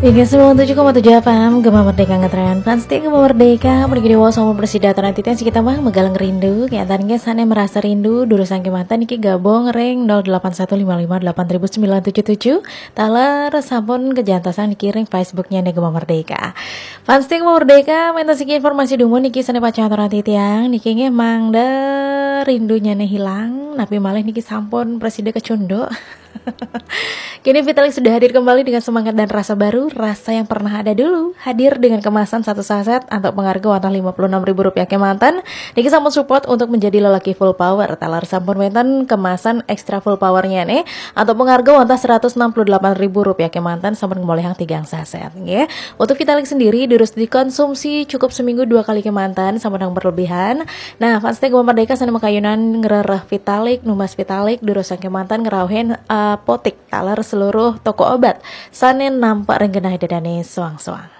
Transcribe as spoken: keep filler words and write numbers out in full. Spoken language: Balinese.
Tiga sembilan tujuh koma tujuh F M, Gema Merdeka ngetren. Fans setia Gema Merdeka, mriki dewa sama bersida aturang titiang siki tambah megalang rindu. Kegiatan ke sana merasa rindu, durus sangke mata niki gabung ring nol delapan satu lima lima delapan ribu sembilan tujuh tujuh. Taler sampun kejantosan niki ring Facebooknya nih Gema Merdeka. Fans setia Gema Merdeka, menta siki informasi dumun niki sana paca aturang titiang, niki nggih mangda rindunya nih hilang, napi malih niki sampun bersida kecunduk. Kini Vitalik sudah hadir kembali dengan semangat dan rasa baru, rasa yang pernah ada dulu. Hadir dengan kemasan satu saset antuk pangarga wantah lima puluh enam ribu rupiah kemanten. Niki sampun support untuk menjadi lelaki full power. Taler sampun wenten kemasan extra full powernya nih, antuk pangarga wantah seratus enam puluh delapan ribu rupiah kemanten sampun ngemolihang tigang saset, nggih. Untuk Vitalik sendiri durus dikonsumsi cukup seminggu dua kali kemanten, sampun nang berlebihan. Nah, fans setia Gema Merdeka sana makayunan ngrereh Vitalik, numbas Vitalik, durus sangke manten ngrauhin apotik taler seluruh toko obat. Sana nampak ring genah dadane soang-soang.